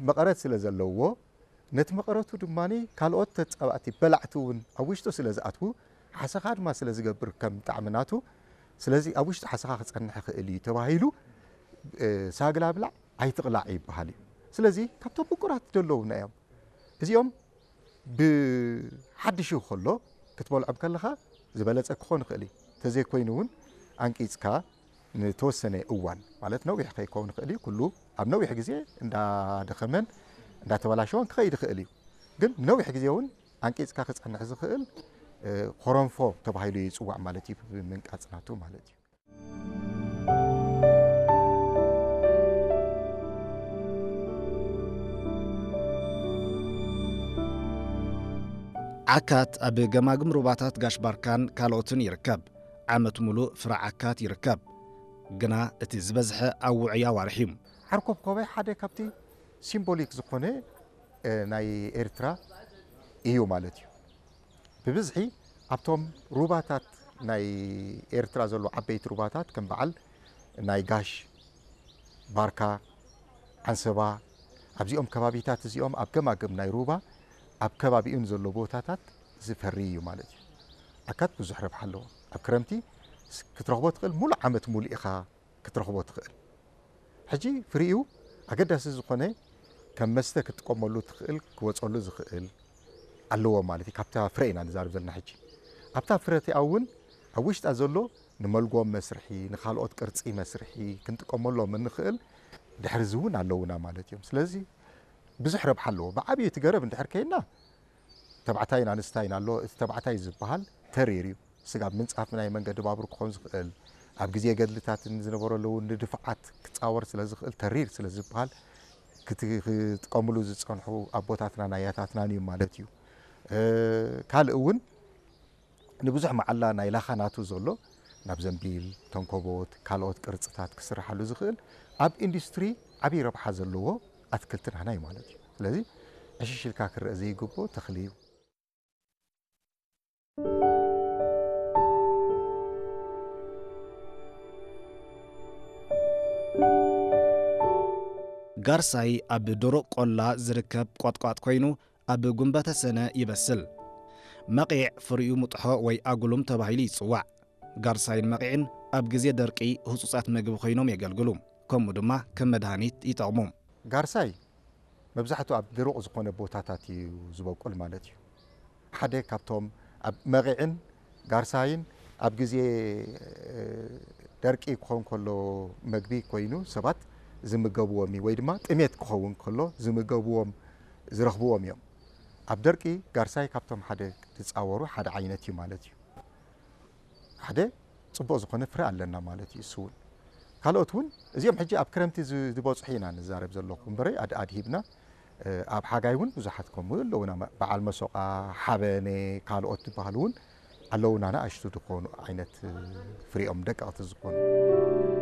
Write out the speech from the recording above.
መቐረት ስለ ዘለዎ፣ ነቲ መቐረቱ ድማ ካልኦት ተጻባእቲ በላዕቲ እውን ኣብ ውሽጡ ስለ ዝኣትዉ፣ ሓሰኻ ድማ ስለ ዝገብር ከም ጣዕሚ ናቱ፣ ስለዚ ኣብ ውሽጡ ሓሰኻ ክጸንሕ ይኽእል እዩ ተባሂሉ፣ እ፣ ሳግላ ብላዕ ኣይትቕላዕ ይበሃል እዩ። ስለዚ ካብቶም ምቁራት ዘለዉና እዮም። እዚኦም ብሓድሽ ከሎ ክትበልዖም ከለኻ ዝበለጸ ክኾን ይኽእል እዩ። ተዘይኮይኑ እውን ኣንቂጽካ ንተወሰነ እዋን፣ ማለት ነዊሕ ከይከውን ይኽእል እዩ፣ ኩሉ ኣብ ነዊሕ ግዜ እንዳደኸመን እንዳተበላሸወን ክኸይድ ይኽእል እዩ። ግን ነዊሕ ግዜ እውን ኣንቂጽካ ክጸንሕ ዝኽእል፣ እ፣ ኮረንፎ ተባሂሉ ይጽዋዕ ማለት እዩ፣ ብምንቃጽ ናቱ ማለት እዩ። ዓካት ኣብ ገማግም ሩባታት ጋሽ ባርካን ካልኦትን ይርከብ። ዓመት ሙሉእ ፍረ ዓካት ይርከብ። ግና እቲ ዝበዝሐ ኣብ ውዑይ ኣዋርሕ እዩ። ዓርኮብኮበ ሓደ ካብቲ ሲምቦሊክ ዝኾነ፣ እ፣ ናይ ኤርትራ እዩ ማለት እዩ። ብብዝሒ ኣብቶም ሩባታት ናይ ኤርትራ ዘሎ ዓበይቲ ሩባታት ከም በዓል ናይ ጋሽ፣ ባርካ፣ ዓንሰባ፣ ኣብዚኦም ከባቢታት እዚኦም ኣብ ገማግም ናይ ሩባ ኣብ ከባቢኡ ንዘሎ ቦታታት ዝፈሪ እዩ ማለት እዩ። ዓካት ብዙሕ ረብሓ ኣለዎ። ኣብ ክረምቲ ስ-፣ ክትረኽቦ ትኽእል፣ ሙሉእ ዓመት ሙሉእ ኢኻ ክትረኽቦ ትኽእል። ሕጂ ፍሪኡ ኣገዳሲ ዝኾነ ከም መስተ ክትጥቀመሉ ትኽእል፣ ክወጸሉ ዝኽእል ኣለዎ ማለት እዩ። ካብታ ፍረ ኢና ንዛረብ ዘለና ሕጂ። ኣብታ ፍረ እቲኣ እውን ኣብ ውሽጣ ዘሎ ንመልጎም መስርሒ፣ ንኻልኦት ቅርጺ መስርሒ ክንጥቀመሎም እንኽእል ድሕሪ እዚ እውን ኣለውና ማለት እዮም። ስለዚ ብዙሕ ረብሓ ኣለዎ። ብዓብዩ እቲ ገረብ እንድሕር ከይና ተባዕታይን ኣንስታይን ኣሎ። እቲ ተባዕታይ ዝበሃል ተሪር እዩ። ስጋብ ምንጻፍ ናይ መንገዲ ባቡር ክኾን ዝኽእል፣ ኣብ ግዜ ገድልታትን ዝነበረሉ እውን ንድፍዓት ክጻወር ስለ ዝኽእል፣ ተሪር ስለ ዝበሃል ክት-፣ ክጥቀምሉ ዝጸንሑ ኣቦታትናን ኣያታትናን እዩ ማለት እዩ። እ፣ ካልእ እውን ንብዙሕ መዓላ ናይ ላኻ ናቱ ዘሎ ናብ ዘንቢል፣ ተንኮቦት፣ ካልኦት ቅርጽታት ክስርሓሉ ዝኽእል ኣብ ኢንዱስትሪ ዓብዪ ረብሓ ዘለዎ ኣትክልቲ ናህና እዩ ማለት እዩ። ስለዚ ዕሽሽ ኢልካ ክረአ ዘይግብኦ ተኽሊ እዩ። ጋርሳይ ኣብ ደረቕ ቆላ ዝርከብ ቆጥቋጥ ኮይኑ ኣብ ጉንበተ ሰነ ይበስል። መቒዕ ፍሪኡ ሙጥሖ ወይ ኣጉሉም ተባሂሉ ይጽዋዕ። ጋርሳይን መቒዕን ኣብ ግዜ ደርቂ ህጹጻት መግቢ ኮይኖም የገልግሉ። ከምኡ ድማ ከም መድሃኒት ይጠቕሙ። ጋርሳይ መብዛሕትኡ ኣብ ደረቕ ዝኾነ ቦታታት እዩ ዝበቁል ማለት እዩ። ሓደ ካብቶም ኣብ መቒዕን ጋርሳይን ኣብ ግዜ፣ እ፣ ደርቂ ክኸውን ከሎ መግቢ ኮይኑ ሰባት ዝምገብዎም እዩ፣ ወይ ድማ ጥሜት ክኸውን ከሎ ዝምገብዎም፣ ዝረኽብዎም እዮም። ኣብ ደርቂ ጋርሳይ ካብቶም ሓደ ዝጻወሩ ሓደ ዓይነት እዩ ማለት እዩ። ሓደ ጽቡቕ ዝኾነ ፍረ ኣለና ማለት እዩ። እሱ እውን ካልኦት እውን እዚኦም ሕጂ ኣብ ክረምቲ ዝ-፣ ዝበጽሑ ኢና ንዛረብ ዘለኹ እምበረ ኣድ-፣ ኣድሂብና፣ እ፣ ኣብ ሓጋይ እውን ብዙሓት ከምኡ ኣለውና። መ-፣ በዓል መሶቓ፣ ሓበነ፣ ካልኦት ዝበሃሉ እውን ኣለውና፣ ንኣሽቱ ዝኾኑ ዓይነት፣ እ፣ ፍሪኦም ደቀቕቲ ዝኾኑ።